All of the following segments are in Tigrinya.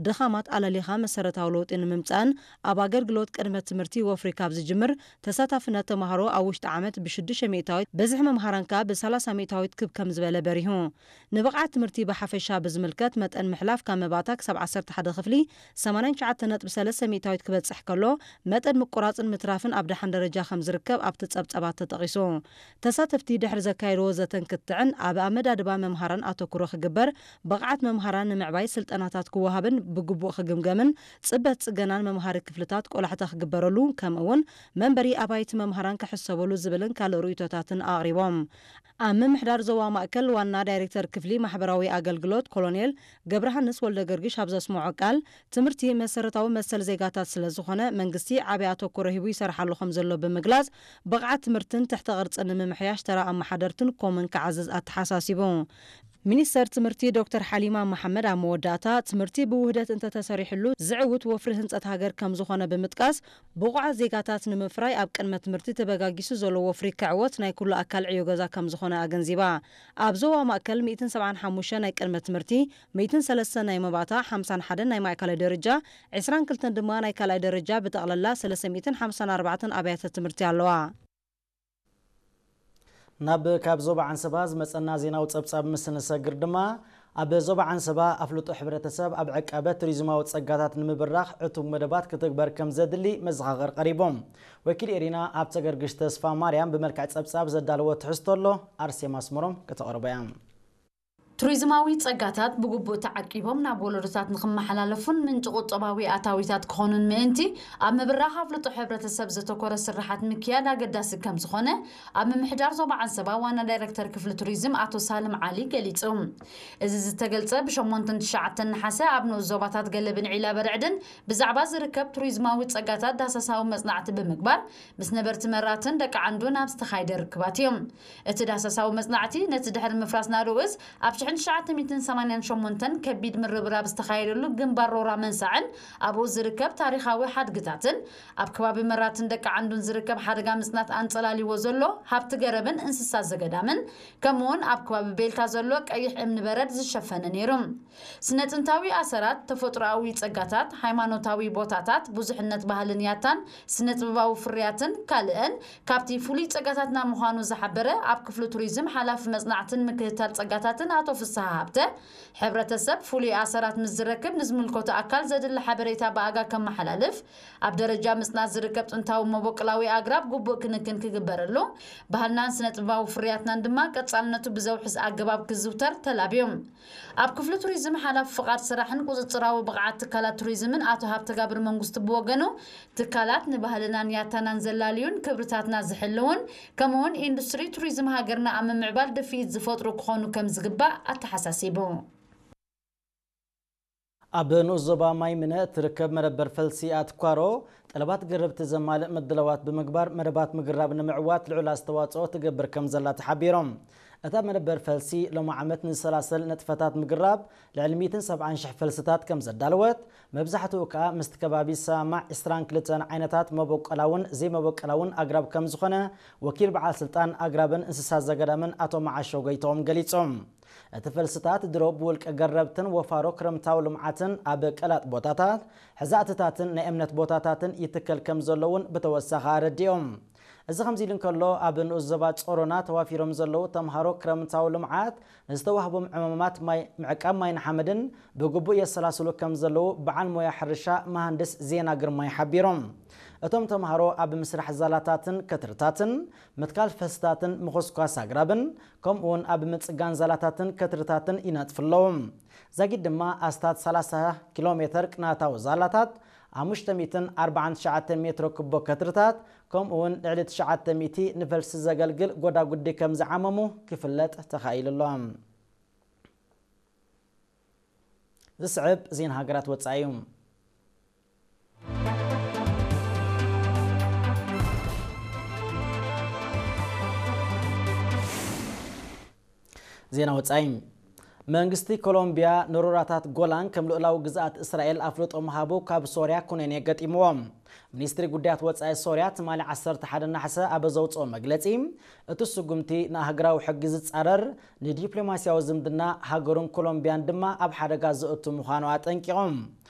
ድኻማት ኣለሊኻ መሰረታዊ ለውጢ ንምምጻእን ኣብ ኣገልግሎት ቅድመ ትምህርቲ ወፍሪ ካብ ዝጅምር ተሳታፍነት ተማሃሮ ኣብ ውሽጢ ዓመት ብ6 ሚእታዊት፣ ብዝሒ መምሃራን ከኣ ብ30 ሚእታዊት ክብ ከም ዝበለ በሪሁ። ንብቕዓት ትምህርቲ ብሓፈሻ ብዝምልከት መጠን ምሕላፍ ካብ መባእታ ክሳብ ዓሰርተ ሓደ ክፍሊ ሰማንያን ትሽዓተ ነጥቢ ሰለስተ ሚእታዊት ክበጽሕ ከሎ፣ መጠን ምቁራጽን ምትራፍን ኣብ ደሓን ደረጃ ከም ዝርከብ ኣብቲ ጸብጸባት ተጠቒሱ። ተሳተፍቲ ድሕሪ ዘካየድዎ ዘተን ክትዕን ኣብ ኣመዳድባ መምሃራን ኣተኩሮ ክግበር፣ ብቕዓት መምሃራን ንምዕባይ ስልጠናታት ክወሃብን ብግቡእ ክግምገምን ጽበት ጽገናን መምሃሪ ክፍልታት ቆላሕታ ክግበረሉ ከምኡ እውን መንበሪ ኣባይቲ መምሃራን ክሕሰበሉ ዝብልን ካልእ ርእይቶታትን ኣቕሪቦም። ኣብ ምምሕዳር ዞባ ማእከል ዋና ዳይሬክተር ክፍሊ ማሕበራዊ ኣገልግሎት ኮሎኔል ገብረሃንስ ወልደገርግሽ ኣብ ዘስምዖ ቃል፣ ትምህርቲ መሰረታዊ መሰል ዜጋታት ስለ ዝኾነ መንግስቲ ዓቢ ኣተኩሮ ሂቡ ይሰርሓሉ ከም ዘሎ ብምግላጽ፣ ብቕዓት ትምህርትን ትሕተ ቅርጽን ንምምሕያሽ ተራ ኣመሓደርትን ኮምን ክዓዝዝ ኣተሓሳሲቡ። ሚኒስተር ትምህርቲ ዶክተር ሓሊማ መሓመድ ኣብ መወዳእታ፣ ትምህርቲ ብውህደት እንተተሰሪሕሉ ዝዕውት ወፍሪ ህንጸት ሃገር ከም ዝኾነ ብምጥቃስ፣ ብቑዓት ዜጋታት ንምፍራይ ኣብ ቅድመ ትምህርቲ ተበጋጊሱ ዘሎ ወፍሪ ክዕወት ናይ ኩሉ ኣካል ዕዮ ገዛ ከም ዝኾነ ኣገንዚባ። ኣብ ዞባ ማእከል ሚእትን ሰብዓን ሓሙሽተን ናይ ቅድመ ትምህርቲ፣ ሚእትን ሰለስተን ናይ መባእታ፣ ሓምሳን ሓደን ናይ ማእከላይ ደረጃ፣ ዕስራን ክልተን ድማ ናይ ካልኣይ ደረጃ፣ ብጠቕላላ ሰለስተ ሚእትን ሓምሳን ኣርባዕተን ኣብያተ ትምህርቲ ኣለዋ። ናብ ካብ ዞባ ዓንሰባ ዝመጸና ዜናዊ ጸብጻብ ምስ ንሰግር ድማ፣ ኣብ ዞባ ዓንሰባ ኣፍልጦ ሕብረተሰብ ኣብ ዕቃበ ቱሪዝማዊ ጸጋታት ንምብራኽ ዕቱብ መደባት ክትግበር ከም ዘድሊ መዘኻኸር ቀሪቦም። ወኪል ኤሪና ኣብ ተገርግሽ ተስፋ ማርያም ብመልክዕ ጸብጻብ ዘዳለዎ ትሕዝቶ ኣሎ፣ ኣርሴማ ኣስመሮም ከተቕርቦ እያ። ቱሪዝማዊ ጸጋታት ብግቡእ ተዓቂቦም ናብ ወለዶታት ንኽመሓላለፉን ምንጪ ቁጠባዊ ኣታዊታት ክኾኑን ምእንቲ፣ ኣብ ምብራኽ ኣፍልጦ ሕብረተሰብ ዘተኮረ ስርሓት ምክያድ ኣገዳሲ ከም ዝኾነ ኣብ ምምሕዳር ዞባ ዓንሰባ ዋና ዳይሬክተር ክፍሊ ቱሪዝም ኣቶ ሳልም ዓሊ ገሊጹ። እዚ ዝተገልጸ ብ8ን ትሽዓተን ነሓሰ ኣብ ንኡስ ዞባታት ገለብን ዒላ በርዕድን ብዛዕባ ዝርከብ ቱሪዝማዊ ጸጋታት ዳህሳሳዊ መጽናዕቲ ብምግባር ምስ ነበርቲ መራትን ደቂ ዓንዱን ኣብ ዝተኻየደ ርክባት እዩ። እቲ ዳህሳሳዊ መጽናዕቲ ነቲ ድሕሪ ምፍራስ ናደኡ እዝ ኣብ ሽሕን ትሽዓተ ሚእትን ሰማንያን ሸሞንተን ከቢድ ምርብራብ ዝተኻየደሉ ግንባር ሮራ መንሳዕን ኣብኡ ዝርከብ ታሪኻዊ ሓድግታትን ኣብ ከባቢ መራትን ደቂ ዓንዱን ዝርከብ ሓደጋ ምጽናት ኣንጸላልይዎ ዘሎ ሃብቲ ገረብን እንስሳ ዘገዳምን ከምኡውን ኣብ ከባቢ ቤልታ ዘሎ ቀይሕ እምኒ በረድ ዝሸፈነ ነይሩ። ስነ ጥንታዊ ኣሰራት፣ ተፈጥሮኣዊ ጸጋታት፣ ሃይማኖታዊ ቦታታት፣ ብዙሕነት ባህልን ያታን፣ ስነ ጥበባዊ ፍርያትን ካልእን ካብቲ ፍሉይ ጸጋታትና ምዃኑ ዝሓበረ ኣብ ክፍሊ ቱሪዝም ሓላፊ መጽናዕትን ምክትታል ጸጋታትን ኣቶ ፍስሃ ሃብተ፣ ሕብረተሰብ ፍሉይ ኣሰራት ምስ ዝረክብ ንዝምልከቶ ኣካል ዘድሊ ሓበሬታ ብኣጋ ከመሓላልፍ፣ ኣብ ደረጃ ምጽናት ዝርከብ ጥንታዊ መበቆላዊ ኣግራብ ግቡእ ክንክን ክግበረሉ፣ ባህልናን ስነ ጥበባዊ ፍርያትናን ድማ ቀጻልነቱ ብዘውሕስ ኣገባብ ክዝውተር ተላብዮም። ኣብ ክፍሊ ቱሪዝም ሓላፊ ፍቓድ ስራሕን ቁጽጽራዊ ብቕዓት ትካላት ቱሪዝምን ኣቶ ሃብተጋብር መንግስቱ ብወገኑ፣ ትካላት ንባህልናን ያታናን ዘላልዩን ክብርታትና ዝሕልውን ከምኡውን ኢንዱስትሪ ቱሪዝም ሃገርና ኣብ ምምዕባል ድፍኢት ዝፈጥሩ ክኾኑ ከም ዝግባእ ኣተሓሳሲቡ። ኣብ ንኡስ ዞባ ማይ ምነ እትርከብ መደበር ፈልሲ ኣትኳሮ ጠለባት ገረብቲ ዘማልእ ምድላዋት ብምግባር መደባት ምግራብ ንምዕዋት ልዑል ኣስተዋፅኦ ትገብር ከም ዘላ ተሓቢሮም። እታ መደበር ፈልሲ ሎሚ ዓመት ንዝሰላሰል ንጥፈታት ምግራብ ልዕሊ ሚእትን ሰብዓን ሽሕ ፈልስታት ከም ዘዳለወት፣ መብዛሕትኡ ከኣ ምስቲ ከባቢ ዝሰማማዕ ዕስራን ክልተን ዓይነታት መበቆላውን ዘይመበቆላውን ኣግራብ ከም ዝኾነ ወኪል በዓል ስልጣን ኣግራብን እንስሳት ዘገዳምን ኣቶ መዓሾ ጎይትኦም ገሊጾም። እቲ ፈልስታት ድሮ ብውልቀ ገረብትን ወፋሮ ክረምታዊ ልምዓትን ኣብ ቀላጥ ቦታታት፣ ሕዛእትታትን ናይ እምነት ቦታታትን ይትከል ከም ዘሎ እውን ብተወሳኺ ኣረዲኦም። እዚ ከምዚ ኢሉ እንከሎ፣ ኣብ ንኡስ ዞባ ጾሮና ተዋፊሮም ዘለዉ ተምሃሮ ክረምታዊ ልምዓት ንዝተዋህቦም ዕማማት ማይ፣ ምዕቃብ ማይን ሓመድን ብግቡእ የሰላስሉ ከም ዘለዉ በዓል ሞያ ሕርሻ መሃንድስ ዜና ግርማይ ሓቢሮም። እቶም ተምሃሮ ኣብ ምስራሕ ዛላታትን ከትርታትን፣ ምትካል ፈልስታትን ምኹስኳስ ኣግራብን፣ ከምኡውን ኣብ ምጽጋን ዛላታትን ከትርታትን ይነጥፉ ኣለዉ። ዛጊድ ድማ ኣስታት ሰላሳ ኪሎ ሜተር ቅናታዊ ዛላታት፣ ሓሙሽተ ሚእትን ኣርባዓን ትሽዓተን ሜትሮ ክቦ ከትርታት፣ ከምኡውን ልዕሊ ትሽዓተ ሚእቲ ንፈልሲ ዘገልግል ጎዳጉዲ ከም ዝዓመሙ ክፍለጥ ተኻኢሉ ኣሎ። ዝስዕብ ዜና ሃገራት ወጻኢ እዩ። ዜና ወጻኢ። መንግስቲ ኮሎምቢያ ንሮራታት ጎላን ከም ልኡላዊ ግዝኣት እስራኤል ኣፍልጦ ምሃቡ ካብ ሶርያ ኩነኔ ገጢምዎ። ሚኒስትሪ ጉዳያት ወጻኢ ሶርያ ትማሊ ዓሰርተ ሓደ ናሕሰ ኣብ ዘውጽኦ መግለጺ፣ እቲ ስጉምቲ ንኣህጉራዊ ሕጊ ዝጻረር፣ ንዲፕሎማስያዊ ዝምድና ሃገሩን ኮሎምቢያን ድማ ኣብ ሓደጋ ዘእቱ ምዃኑ ኣጠንቂቖም።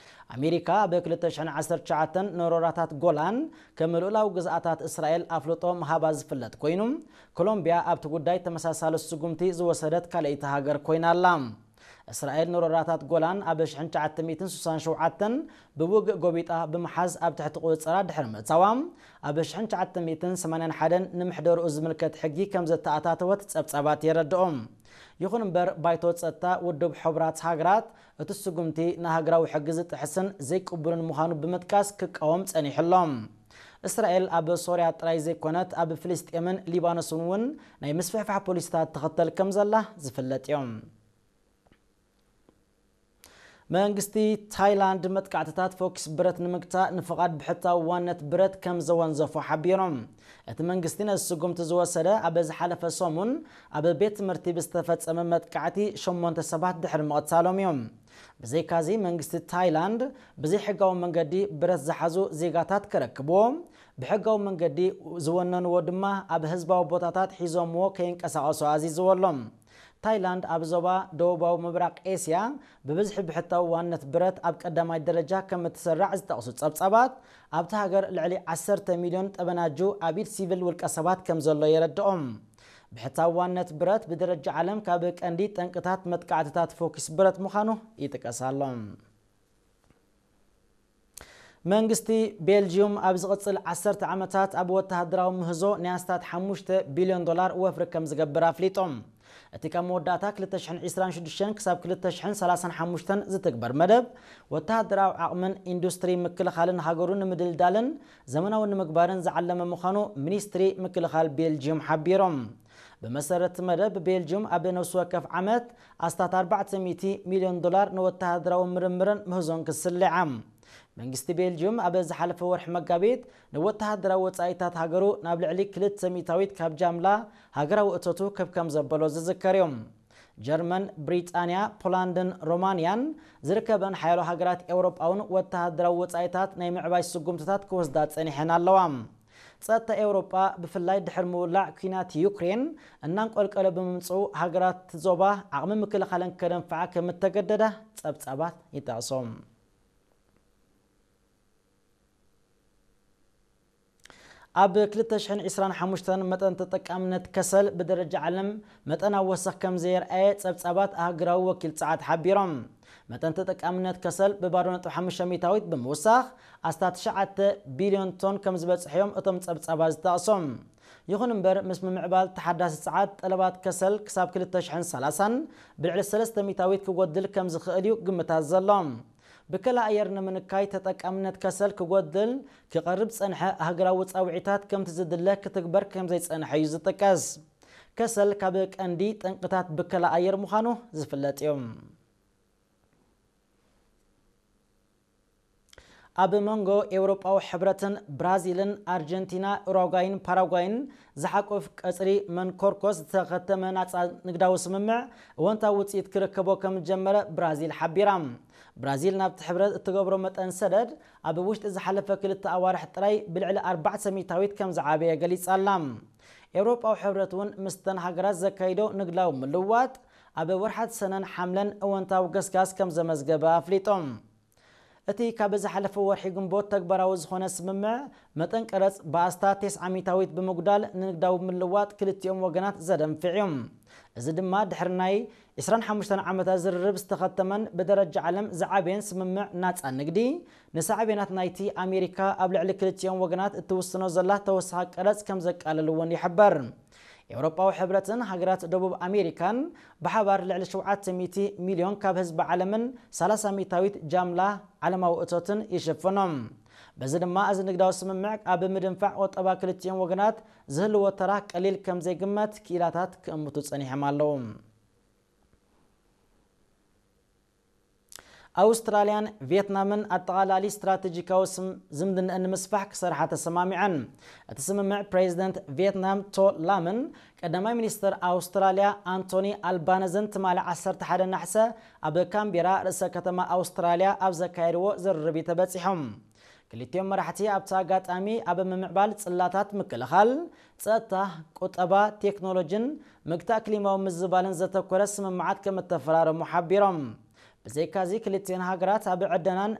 ኣሜሪካ ኣብ ክልተ ሽሕን ዓሰርተ ትሽዓተን ንሮራታት ጎላን ከም ልኡላዊ ግዝኣታት እስራኤል ኣፍልጦ ምሃባ ዝፍለጥ ኮይኑ፣ ኮሎምቢያ ኣብቲ ጉዳይ ተመሳሳሊ ስጉምቲ ዝወሰደት ካልኣይቲ ሃገር ኮይና ኣላ። እስራኤል ንሮራታት ጎላን ኣብ ሽሕን ትሽዓተ ሚእትን ስሳን ሸውዓተን ብውግእ ጎቢጣ ብምሓዝ ኣብ ትሕቲ ቁጽጽራ ድሕሪ ምእታዋ፣ ኣብ ሽሕን ትሽዓተ ሚእትን ሰማንያን ሓደን ንምሕደርኡ ዝምልከት ሕጊ ከም ዘተኣታተወት ጸብጻባት የረድኦ። ይኹን እምበር፣ ባይቶ ጸጥታ ውድብ ሕቡራት ሃገራት እቲ ስጉምቲ ንሃገራዊ ሕጊ ዝጥሕስን ዘይቅቡልን ምዃኑ ብምጥቃስ ክቃወም ጸኒሑ ኣሎ። እስራኤል ኣብ ሶርያ ጥራይ ዘይኮነት፣ ኣብ ፍልስጤምን ሊባኖስን እውን ናይ ምስፍሕፋሕ ፖሊሲታት ትኽተል ከም ዘላ ዝፍለጥ እዩ። መንግስቲ ታይላንድ መጥቃዕትታት ፎኪስ ብረት ንምግታእ ንፍቓድ ብሕታዊ ዋነት ብረት ከም ዘወንዘፎ ሓቢሮም። እቲ መንግስቲ ነዚ ስጉምቲ ዝወሰደ ኣብ ዝሓለፈ ሰሙን ኣብ ቤት ትምህርቲ ብዝተፈጸመ መጥቃዕቲ ሸሞንተ ሰባት ድሕሪ ምቕታሎም እዮም። ብዘይካዚ መንግስቲ ታይላንድ ብዘይሕጋዊ መንገዲ ብረት ዝሓዙ ዜጋታት ከረክብዎ፣ ብሕጋዊ መንገዲ ዝወነንዎ ድማ ኣብ ህዝባዊ ቦታታት ሒዞምዎ ከይንቀሳቐሱ ኣዚዝዎ ኣሎ። ታይላንድ ኣብ ዞባ ደቡባዊ ምብራቕ ኤስያ ብብዝሒ ብሕታዊ ዋነት ብረት ኣብ ቀዳማይ ደረጃ ከም እትስራዕ ዝጠቕሱ ጸብጻባት፣ ኣብታ ሃገር ልዕሊ ዓሰርተ ሚልዮን ጠበናጁ ኣብ ኢድ ሲቪል ውልቀ ሰባት ከም ዘሎ የረድኦም። ብሕታዊ ዋነት ብረት ብደረጃ ዓለም ካብ ቀንዲ ጠንቅታት መጥቃዕትታት ፎኪስ ብረት ምዃኑ ይጥቀስ ኣሎ። መንግስቲ ቤልጂዩም ኣብ ዝቕጽል ዓሰርተ ዓመታት ኣብ ወተሃደራዊ ምህዞ ናይ ኣስታት ሓሙሽተ ቢልዮን ዶላር ወፍሪ ከም ዝገብር ኣፍሊጡ። እቲ ካብ መወዳእታ ክልተ ሽሕን ዕስራን ሽዱሽተን ክሳብ ክልተ ሽሕን ሰላሳን ሓሙሽተን ዝትግበር መደብ፣ ወተሃደራዊ ዓቕምን ኢንዱስትሪ ምክልኻልን ሃገሩ ንምድልዳልን ዘመናዊ ንምግባርን ዝዓለመ ምዃኑ ሚኒስትሪ ምክልኻል ቤልጂዩም ሓቢሮም። ብመሰረት መደብ፣ ቤልጅዩም ኣብ ነፍሲ ወከፍ ዓመት ኣስታት ኣርባዕተ ሚእቲ ሚልዮን ዶላር ንወተሃደራዊ ምርምርን ምህዞን ክስልዓ። መንግስቲ ቤልጅዩም ኣብ ዝሓለፈ ወርሒ መጋቢት ንወተሃደራዊ ወጻኢታት ሃገሩ ናብ ልዕሊ ክልተ ሚእታዊት ካብ ጃምላ ሃገራዊ እቶቱ ከብ ከም ዘበሎ ዝዝከር እዩ። ጀርመን፣ ብሪጣንያ፣ ፖላንድን ሮማንያን ዝርከበን ሓያሎ ሃገራት ኤውሮጳ እውን ወተሃደራዊ ወጻኢታት ናይ ምዕባይ ስጉምትታት ክወስዳ ጸኒሐን ኣለዋ። ጸጥታ ኤውሮጳ ብፍላይ ድሕሪ ምውላዕ ኲናት ዩክሬን እናንቆልቀለ ብምምጽኡ፣ ሃገራት ዞባ ዓቕሚ ምክልኻለን ከደንፍዓ ከም እተገደዳ ጸብጻባት ይጠቕሱ። ኣብ ክልተ ሽሕን ዕስራን ሓሙሽተን መጠን ተጠቃምነት ከሰል ብደረጃ ዓለም መጠን ኣወሰኽ ከም ዘየርኣየ ጸብጻባት ኣህጉራዊ ወኪል ጸዓት ሓቢሮም። መጠን ተጠቃምነት ከሰል ብባዶ ነጥቢ ሓሙሽተ ሚእታዊት ብምውሳኽ ኣስታት ትሽዓተ ቢልዮን ቶን ከም ዝበጽሐ እዮም እቶም ጸብጻባት ዝጠቕሱ። ይኹን እምበር፣ ምስ ምምዕባል ተሓዳሲ ጸዓት፣ ጠለባት ከሰል ክሳብ ክልተ ሽሕን ሰላሳን ብልዕሊ ሰለስተ ሚእታዊት ክጎድል ከም ዝኽእል እዩ ግምታት ዘሎ። ብከላ ኣየር ንምንካይ ተጠቃምነት ከሰል ክጎድል ክቐርብ ዝጸንሐ ሃገራዊ ጻውዒታት ከምቲ ዝድለ ክትግበር ከም ዘይጸንሐ እዩ ዝጥቀስ። ከሰል ካብ ቀንዲ ጠንቅታት ብከላ ኣየር ምዃኑ ዝፍለጥ እዩ። ኣብ መንጎ ኤውሮጳዊ ሕብረትን ብራዚልን ኣርጀንቲና፣ ኡራጓይን ፓራጓይን ዝሓቁፍ ቀጽሪ መንኮርኮስ ዝተኸተመ ናጻ ንግዳዊ ስምምዕ እወንታዊ ውጽኢት ክርከቦ ከም ዝጀመረ ብራዚል ሓቢራ። ብራዚል ናብቲ ሕብረት እትገብሮ መጠን ሰደድ ኣብ ውሽጢ ዝሓለፈ ክልተ ኣዋርሕ ጥራይ ብልዕሊ ኣርባዕተ ሚእታዊት ከም ዝዓበየ ገሊጻ ኣላ። ኤውሮጳዊ ሕብረት እውን ምስተን ሃገራት ዘካይዶ ንግዳዊ ምልውዋጥ ኣብ ወርሓት ሰነን ሓምለን እወንታዊ ገስጋስ ከም ዘመዝገበ ኣፍሊጡ። እቲ ካብ ዝሓለፈ ወርሒ ግንቦት ተግባራዊ ዝኾነ ስምምዕ መጠን ቀረጽ ብኣስታት ተስዓ ሚእታዊት ብምጉዳል ንንግዳዊ ምልዋጥ ክልቲኦም ወገናት ዘደንፍዕ እዩ። እዚ ድማ ድሕሪ ናይ ዕስራን ሓሙሽተን ዓመታት ዝርርብ ዝተኸተመን ብደረጃ ዓለም ዝዓበየን ስምምዕ ናጻ ንግዲ፣ ንሳዕቤናት ናይቲ ኣሜሪካ ኣብ ልዕሊ ክልቲኦም ወገናት እትውስኖ ዘላ ተወሳኺ ቀረጽ ከም ዘቃልል እውን ይሕበር። ኤውሮጳዊ ሕብረትን ሃገራት ደቡብ ኣሜሪካን ብሓባር ልዕሊ ሸውዓተ ሚእቲ ሚልዮን ካብ ህዝቢ ዓለምን ሰላሳ ሚእታዊት ጃምላ ዓለማዊ እቶትን ይሽፍኖም። በዚ ድማ እዚ ንግዳዊ ስምምዕ ኣብ ምድንፋዕ ቁጠባ ክልቲኦም ወገናት ዝህልዎ ተራ ቀሊል ከም ዘይግመት ክኢላታት ክእምቱ ጸኒሖም ኣለዉ። ኣውስትራልያን ቪየትናምን ኣጠቓላሊ ስትራቴጂካዊ ዝምድንአን ንምስፋሕ ክሰርሓ ተሰማሚዐን። እቲ ስምምዕ ፕሬዚደንት ቪየትናም ቶ ላምን ቀዳማይ ሚኒስትር ኣውስትራልያ ኣንቶኒ ኣልባነዘን ትማሊ ዓሰርተ ሓደ ናሕሰ ኣብ ካምቢራ ርእሰ ከተማ ኣውስትራልያ ኣብ ዘካየድዎ ዝርርብ ተበፂሖም። ክልቲኦም መራሕቲ ኣብቲ ኣጋጣሚ ኣብ ምምዕባል ፅላታት ምክልኻል፣ ፀጥታ፣ ቁጠባ፣ ቴክኖሎጂን ምግታእ ክሊማዊ ምዝባልን ዘተኮረ ስምምዓት ከም እተፈራረሙ ሓቢሮም። ብዘይካዚ ክልቲኦን ሃገራት ኣብ ዕደናን